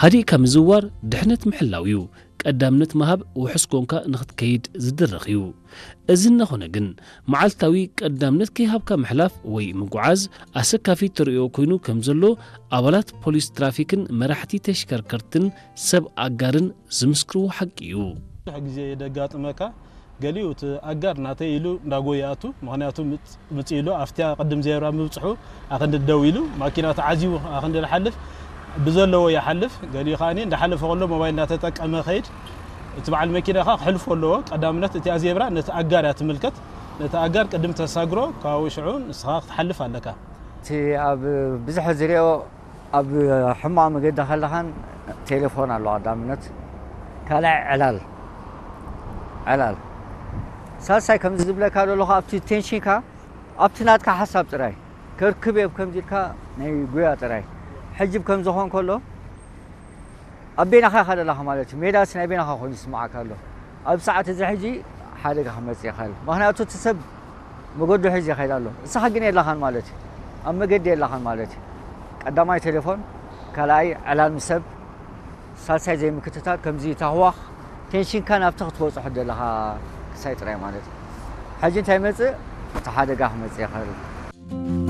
ሃዲእካ ምዝዋር ድሕነት ምሕላው እዩ። ቀዳምነት ምሃብ ውሑስ ኮንካ ንኽትከይድ ዝድርኽ እዩ። እዚ እናኾነ ግን፣ መዓልታዊ ቀዳምነት ከይሃብካ ምሕላፍ ወይ ምጉዓዝ ኣሰካፊ ተርእዮ ኮይኑ ከም ዘሎ ኣባላት ፖሊስ ትራፊክን መራሕቲ ተሽከርከርትን ሰብ ኣጋርን ዝምስክርዎ ሓቂ እዩ። ብዙሕ ግዜ የጋጥመካ፣ ገሊኡ እቲ ኣጋር ናተይ ኢሉ እንዳጎየ ይኣቱ። ምኽንያቱ ምጽ-፣ ምጽእ ኢሉ ኣብቲያ ቅድም ዜብራ ምብጽሑ ኣኽንዲ ደው ኢሉ ማኪና ተዓዚቡ ኣኽንዲ ዝሓልፍ ብዘለዎ ይሓልፍ። ገሊኡ ከኣኒ እንዳሓለፈ ከሎ ሞባይል እንዳተጠቀመ ኸይድ። እቲ በዓል መኪና ኸኣ ክሕልፎ ኣለዎ። ቀዳምነት እቲኣ ዜብራ ነቲ ኣጋር እያ ትምልከት። ነቲ ኣጋር ቅድም ተሳግሮ፣ ካብኡ ሽዑ ንስኻ ክትሓልፍ ኣለካ። እቲ ኣብ ብዙሕ ዝሪኦ ኣብ ሕማቕ መገዲ ከለኻን ቴሌፎን ኣሎ ቀዳምነት፣ ካልኣይ ዕላል፣ ዕላል። ሳልሳይ ከምዚ ዝብለካ ዘለኹ ኣብቲ ቴንሽንካ ኣብቲ ናትካ ሓሳብ ጥራይ ከርክብ እየ ከምዚ ኢልካ ናይ ጉያ ጥራይ። ሕጂ ከምዚ ኾን ከሎ ኣብ ቤናኻ ኢኻ ዘለኻ ማለት እዩ። ሜዳስ ናይ ቤናኻ ኮይኑ ይስምዓካ ኣሎ። ኣብ ሰዓት እዚ ሕጂ ሓደጋ ክመጽእ ይኽእል። ምኽንያቱ እቲ ሰብ መገዱ ሒዙ ይኸይድ ኣሎ። ንስኻ ግን የለኻን ማለት እዩ። ኣብ መገዲ የለኻን ማለት እዩ። ቀዳማይ ቴሌፎን፣ ካልኣይ ዕላል ምስ ሰብ፣ ሳልሳይ ዘይምክትታል፣ ከምዚ ታህዋኽ ቴንሽንካ ናብቲ ክትበጽሖ ዘለኻ ክሳይ ጥራይ ማለት እዩ። ሕጂ እንታይ ይመጽእ? እቲ ሓደጋ ክመጽእ ይኽእል።